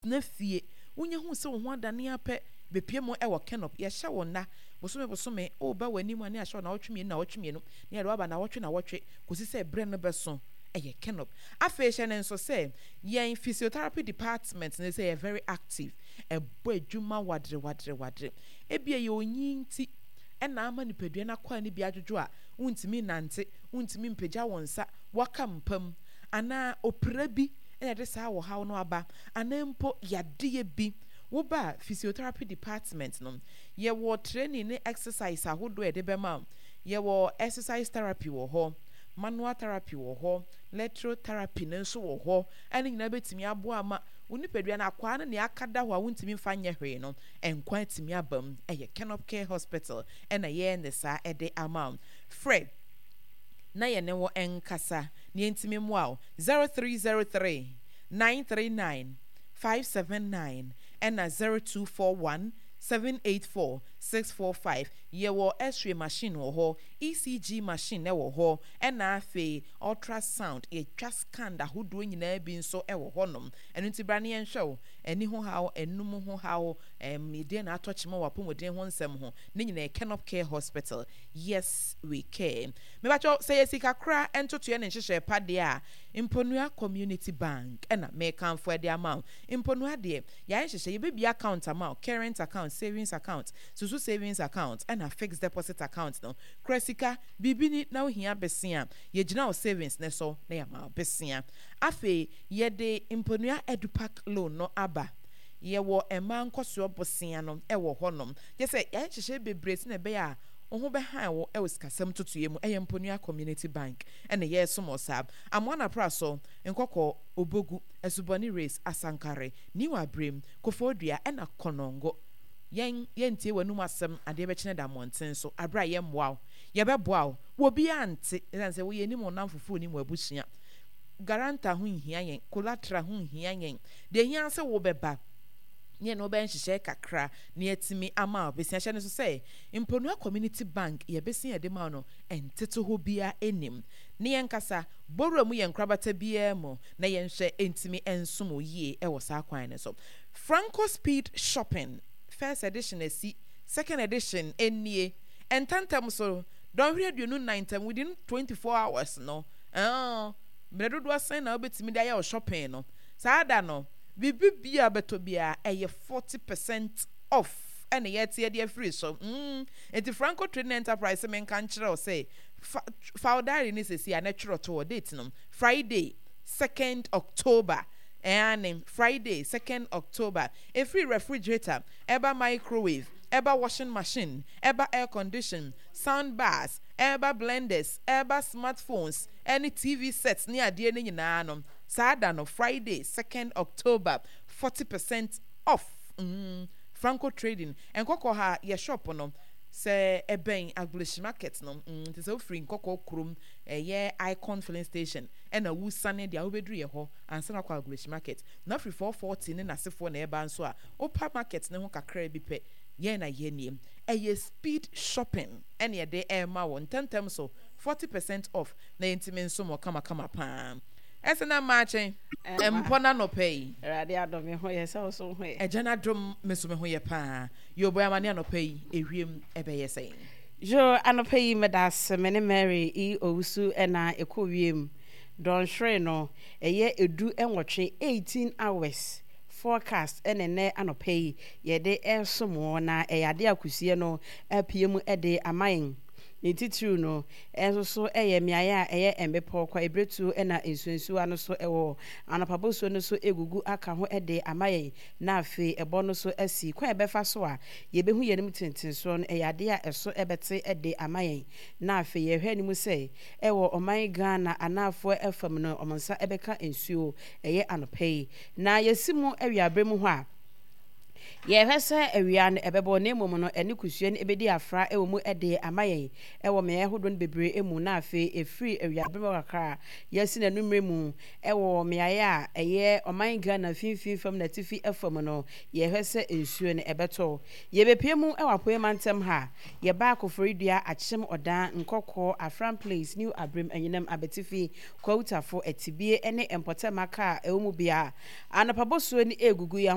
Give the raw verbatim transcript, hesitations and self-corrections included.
Tena fie. Wonya hu sɛ wo ho adane ara pɛ, bepue mu wɔ Kenop. Yɛhyɛ wo nna, bosome bosome, woreba w'anim a na yɛahyɛ wo nnawɔtwe mmienu nnawɔtwe mmienu, na yɛde wo aba nnawɔtwe nnawɔtwe, kɔsi sɛ berɛ no bɛso. Ɛyɛ Kenop. Afei hyɛ no nso sɛ, yɛn physiotherapy department no sɛ yɛ very active. Ɛbɔ adwuma wadere wadere wadere. Ebia ɛyɛ onyin nti na ama nipadua no akwaa no bi adwodwo a wontumi nnante, wontumi mpagya wo nsa, woaka mpa mu, anaa opira bi na ɛde saa ɔhaw no aba, anaa mpo yadeɛ bi. Woba physiotherapy department no, yɛwɔ training ne exercise ahodoɔ a yɛde bɛma wo. Yɛwɔ exercise therapy wɔ hɔ, manual therapy wɔ hɔ, electrotherapy no nso wɔ hɔ. Ɛno nyinaa bɛtumi aboa ama wo nipadua no akwaa no nea aka da hɔ a wontumi mfa nyɛ hwee no, nkwa atumi aba mu. Ɛyɛ Kenop Care Hospital ɛna yɛyɛ ne saa ɛde ama wo. Frɛ na yɛne wo nkasa na yɛntumi mmoa wo. zero three zero three nine three nine five seven nine ɛna zero two four one seven eight four six four five. Yɛwɔ X-ray machine wɔ hɔ, E C G machine wɔ hɔ, ɛna afei ultrasound, yɛtwa scan ahodoɔ nyinaa bi nso wɔ hɔnom. Ɛno nti bra ne yɛnhwɛ wo ani ho haw, enum ho haw, ɛm deɛ na atɔ kyema wɔ apɔmuden ho nsɛm ho ne nyinaa. Kenop Care Hospital, yes we care. Mebatwɛ sɛ yɛ sika kora ntotoɛ ne nhyehyɛ pa deɛ a, Mponua Community Bank ɛna mekamfo ɛde ama wo. Mponua deɛ, yɛayɛ nhyehyɛ, yɛbɛbia account ama wo: current account, savings account, susu savings account, ɛna fixed deposit account no. Kura sika biribi ni na wohia besia, yɛgyina wo savings ne so na yɛama wo besia. Afei yɛde Mponua Edupac loan no aba. Yɛwɔ mmaa nkɔsoɔ bosea no ɛwɔ hɔnom. Kyɛ sɛ yɛayɛ nhyehyɛ bebree sɛ na ɛbɛyɛ a wo ho bɛhan wo ɛwɔ sikasɛm totoeɛ mu. Ɛyɛ Mponua Community Bank ɛna yɛresom wɔ saa Amoana Pra so, Nkɔkɔ, Obogu, Asubɔne Race, Asankare, Niwa Abrem, Koforidua ɛna Kɔnɔngo. Yɛn yɛntie w'anum asɛm adeɛ bɛkyerɛ da mmɔnten so aberɛ a yɛmmoa wo, yɛbɛboa wo wɔ biara nte, ɛsiane sɛ woyɛ anim ɔnam fufuo nim wɔ abusua. Guarantor ho nhia yɛn, collateral ho nhia yɛn. Deɛ hia sɛ wobɛba ne yɛne wobɛyɛ nhyehyɛe kakra na yɛatumi ama wo besia. Hyɛ no so sɛ Mponua Community Bank, yɛbɛsia yɛde ma wo no, ɛntete hɔ biara anim ne yɛn kasa bɔwura mu yɛ nkorabata biara mu na yɛnhwɛ ntumi nsom wo yie ɛwɔ saa kwan no so. Franco Speed Shopping first edition asi, second edition nie. Ntɛntɛm so, dɔnhwere aduonu nnan ntɛm, within twenty four hours no, ɛɛ mmerɛ dodoɔ sɛn na wobɛtumi de ayɛ wo shopping no? Saa da no, biribi bia bɛtɔ biara ɛyɛ forty percent off ɛna yɛte yɛde afiri so mm nti Franco Trading Enterprise, menka nkyerɛ wo sɛ fa fa wo diary ne sɛsi a na twerɛ to wɔ date no, Friday second October. Ɛane Friday second October. Ɛfiri refrigerator, ɛba microwave, ɛba washing machine, ɛba air condition, sound bars, ɛba blenders, ɛba smartphones ɛne T V sets ne adeɛ no nyinaa no, saa da no, Friday second October, forty percent off. mm, franco Trading, Nkɔkɔ ha yɛ shop no sɛ ɛbɛn Agbleshi Market no. mm, nti sɛ wofiri Nkɔkɔ kurom, ɛyɛ Icon Filling Station ɛna wusane deɛ wobɛduru yɛ hɔ ansa na akɔ Agbleshi Market. Na afiri four forty ne n'asefoɔ na ɛba nso a, wopa market ne ho kakra bi pɛ, yɛn na yɛn nie. Ɛyɛ speed shopping ɛna yɛde ɛrema wɔ ntɛntɛm so, forty percent off, na yɛntumi nso mɔ kamakama paa. Ɛsɛ na mmaakye mpɔ n'anɔpɛ yi. Awurade adɔ me ho yɛ sɛ wo so ho yɛ. Ɛgya n'adom, me nso me ho yɛ paa. Yɛbɔ amane anɔpɛ yi, ewiem ɛbɛyɛ sɛn? Yo, anɔpɛ yi meda ase. Me ne Mary E Owusu ɛna ɛkɔ wiem. Dɔnhwere no ɛyɛ edu nwɔtwe, eighteen hours forecast ɛna ɛnɛ anɔpɛ yi yɛde ɛresom wɔ, na ɛyɛ adeɛ akusie no apue mu ɛde ama yɛn. Ne titiriw no ɛnso so ɛyɛ mmeaeɛ a ɛyɛ mmepɔ kwa ebiretuo ɛna nsuonsuwa no so ɛwɔ anɔpabosuo no so egugu aka ho ɛde ama yɛn. Na afei ɛbɔ no so asi kwan a ɛbɛfa so a yɛbɛhu yɛn anim tentensoɔ no, ɛyɛ adeɛ a ɛso ɛbɛte ɛde ama yɛn. Na afei yɛhwɛ anim sɛ ɛwɔ ɔman Ghana anaafoɔ ɛfam no, ɔmo nsa ɛbɛka nsuo ɛyɛ anɔpa yi. Na yɛsi mu awiaberɛ mu hɔ a, Yɛhwɛ sɛ awia no ɛbɛbɔ, na mmom no ɛne kusua no ɛbɛdi afra ɛwɔ mu ɛde ama yɛn ɛwɔ mmeaeɛ ahodoɔ no bebree mu. Na afei ɛfiri awiaberɛ mu kakra a yɛasi n'anummerɛ mu ɛwɔ mmeaeɛ a ɛyɛ ɔman Ghana mfimfini fam na atifi fam no, yɛhwɛ sɛ nsuo no ɛbɛtɔ. Yɛbɛpie mu ɛwɔ Apoe mantam ha, yɛba Koforidua, Akyem Ɔdan, Nkɔkɔɔ, Afram Place, New Abrem, Anyinam, Abetifi, Kwawutafo, Atibie ne mpɔtam aka a ɛwɔ mu bia anɔpa bosuo no ɛgugu yɛn.